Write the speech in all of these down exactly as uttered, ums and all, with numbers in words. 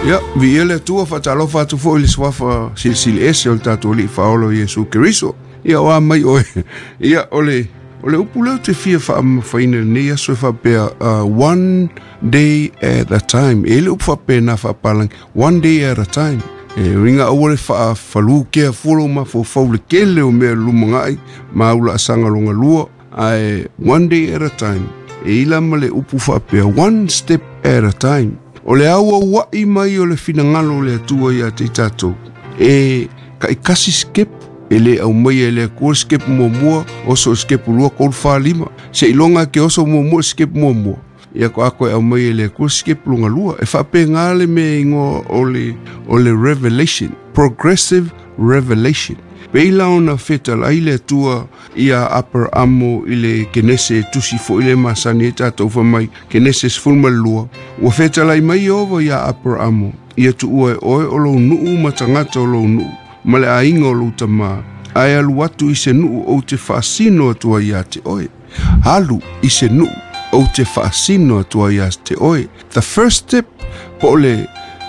Ia, viia le Atua, faatalofa atu foi i le suafa silisili ese o le tatou Alii Faaola o Iesu Keriso. Ia, o a mai oe. Ia, o le, o le upu lea ou te fia faamamafaina i lenei aso e faapea, uh, one day at a time. E i ai le upu faapena faapalagi, one day at a time. E uiga aua le faafalu kea fua lou mafaufau le tele o mea lumana'i ma au laasaga loga lua, ae one day at a time. E i la ma le upu faapea, one step at a time. O le auaua'i mai o le finagalo o le Atua iā te i tatou, e taʻikasi sikepu, e lē aumaia e le Atua le sikepu muamua, oso i le sikepu lua, tolu, fa, lima, seiloga e ke oso muamua i le sikepu muamua, ia ko e aumaia e le Atua le sikepu loga lua. E faapegā le mea e igoa o le, o le revelation, progressive revelation. Pei la ona fetalai le Atua ia Aperaamo i le Kenese e tusi foʻi le masani ai tatou fai mai Kenese sefulu ma le lua, ua fetalai mai Ieova iā Aperaamo, ia tuua e oe o lou nuu ma tagata o lou nuu ma le aiga o lou tamā, ae alu atu i se nuu ou te faasino atu ai iā te oe. Alu i se nuu ou te faasino atu ai iā te oe. The first step, po o le,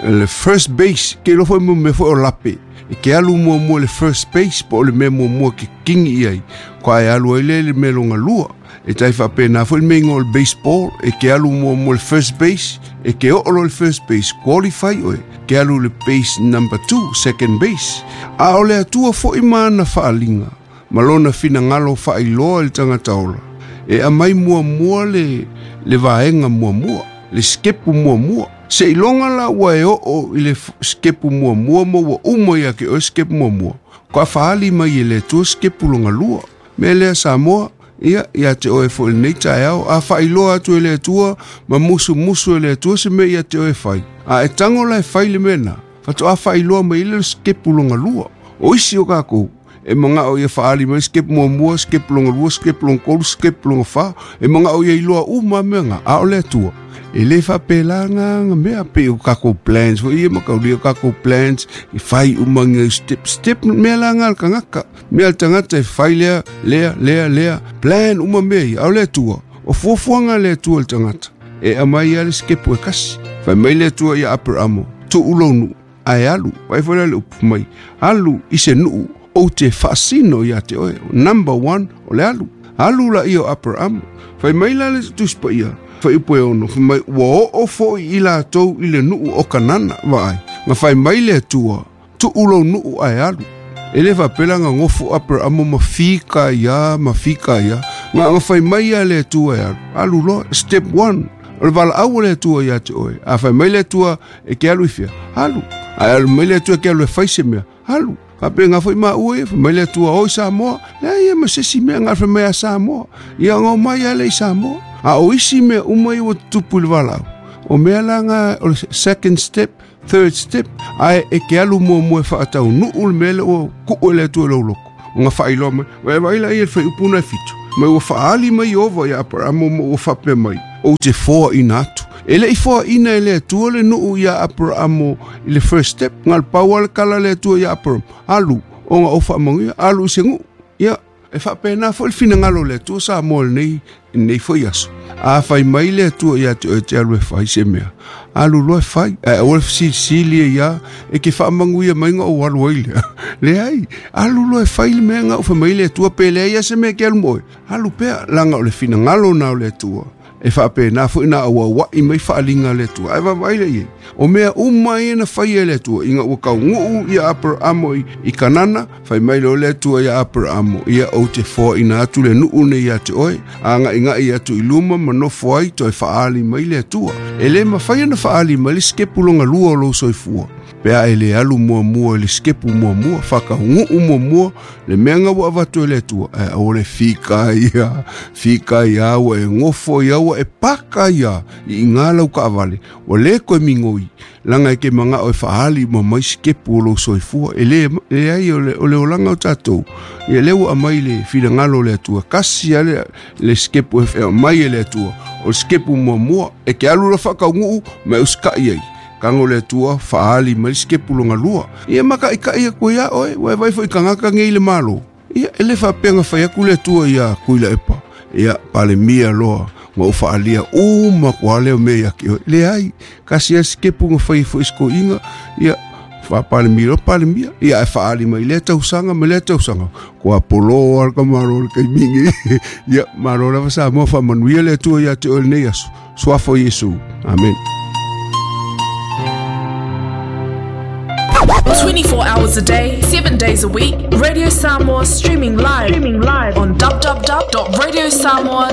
le first base, ke iloa foi mo mea foi o lape, e ke alu muamua le first base, po o le mea muamua ke kingi i ai, ko ae alu ai le le mea loga lua. E tai faapena foi le mea igoa o le baseball, e ke alu muamua le first base, e ke oo loa le first base, qualify oe, ke alu le base number two, second base. A o le Atua foʻi ma ana faaliga, ma lona finagalo faailoa i le tagata ola, e aumai muamua le, le vaega muamua, le sikepu muamua. Seiloga la ua e oo i le sikepu muamua ma ua uma ia ke oe sikepu muamua, ko a faali mai e le Atua sikepu loga lua. Mea lea Samoa, ia, ia te oe foi i lenei taeao, a faailoa atu e le Atua ma musumusu e le Atua se mea ia te oe fai, a e tago la e fai le mea na, faatoa faailoa mai le sikepu loga lua. O isi o kakou, e magao ia faali mai sikepu muamua, sikepu loga lua, sikepu loga tolu, sikepu loga fa, e magao ia iloa uma mea ga, a o le Atua, e lē faapelaga ga mea pei o kakou plans foi ia makaulia o kakou plans, e fai uma ga step step mea laga a le tagata, mea a le tagata e fai lea lea lea lea plan uma mea ia, a o le Atua, o fuafuaga a le Atua i le tagata, e aumai a le sikepu e kasi. Fai mai le Atua ia Aperamo, tuu lou nuu ae alu, ai foi la le upu mai, alu i se nuu ou te faasino iā te oe. Number one, o le alu. Alu la ia o Aperamo. Fai mai la le Tusi Paia, fuaiupu e ono, fai mai ua oo foʻi i latou i le nuu o Kanana, vaai. Na fai mai le Atua, tuu lou nuu ae alu. E lē faapea ga gofo Aperamo ma fika ia ma fika ia. Na na fai mai ia le Atua e alu. Alu loa, step one. O le valaau o le Atua iā te oe. A fai mai le Atua e ke alu i fea, alu. Ae alu mai le Atua e ke alu e fai se mea, alu. Faapega foi maua ia, fai mai le Atua o i Samoa, leai ia ma se isi mea ga fai mai a Samoa. Ia ga omai a le i Samoa. A o isi mea uma ia ua tutupu i le valaau, o mea la ga o le second step, third step, ae e ke alu muamua e faataunuu le mea lea ua kuu e le Atua i lou loko. O ga faailoa mai, vae vaai la ia le fuaiupu na e fitu, mai ua faali mai Ieova ia Aperamo ma ua faapea mai, ou te foaina atu. E leʻi foaʻina e le Atua le nuu iā Aperaamo i le first step, na o le pau lava le kala a le Atua iā Aperamo, alu, ona ou faamanuia, alu i se nuu. Ia, e faapena foi le finagalo o le Atua Samoa i lenei, lenei foi aso. A fai mai le Atua iā te oe e te alu e fai se mea, alu loa e fai, ae aua le fesilisili ai ia, e ke faamanuia mai ga ou alu ai lea. Leai, alu loa e fai le mea ga ou fai mai le Atua, pe leai a se mea ke alu mo oe, alu pea, laga o le finagalo na o le Atua. E faapena foi na auauaʻi mai faaliga a le Atua. Ae vaavaai lea i ai, o mea uma ia na faia e le Atua, ina ua tauguu ia Aperamo i, i Kanana, fai mai loa le Atua ia Aperamo, ia ou te foaina atu le nuu nei ia te oe, agaʻigaʻi atu i luma ma nofo ai toe faali mai le Atua. E lē mafai ona faali mai le sikepu loga lua o lou soifua, pe a e lē alu muamua i le sikepu muamua, faatauguu muamua le mea ga ua avatu e le Atua, ae aua le fika ia, fika ia ua e gofo ia ua e paka ia i iga lau kaavale, ua lē koe migoi, laga e ke magao e faali uma mai sikepu o lou soifua. E lē leai o le, o le olaga o tatou, ia lea ua aumai le finagalo o le Atua, kasi a le, le sikepu e aumai e le Atua, o le sikepu muamua, e ke alu loa faatauguu ma e usikaʻi ai. Kago le Atua faali mai le sikepu loga lua. Ia makaʻikaʻi atu ai ia oe, ua e vaai foi i tagata nei i le Malo. Ia, e lē faapea na fai atu le Atua iā Tuilaepa, Ia palemia loa ma ou faalia uma kua lea mea ia te oe. Leai, tasi lava sitepu na fai foi si toeaina, ia faapalemia loa palemia, ia ae faaali mai lea tausaga ma lea tausaga, ua polo lava le tamaloa i le taimi lenei. Ia, malo lava Samoa, faamanuia le Atua ia te oe i lenei aso. Suafa o Iesu. Amene. twenty-four hours a day, seven days a week, Radio Samoa streaming live, streaming live on w w w dot radio samoa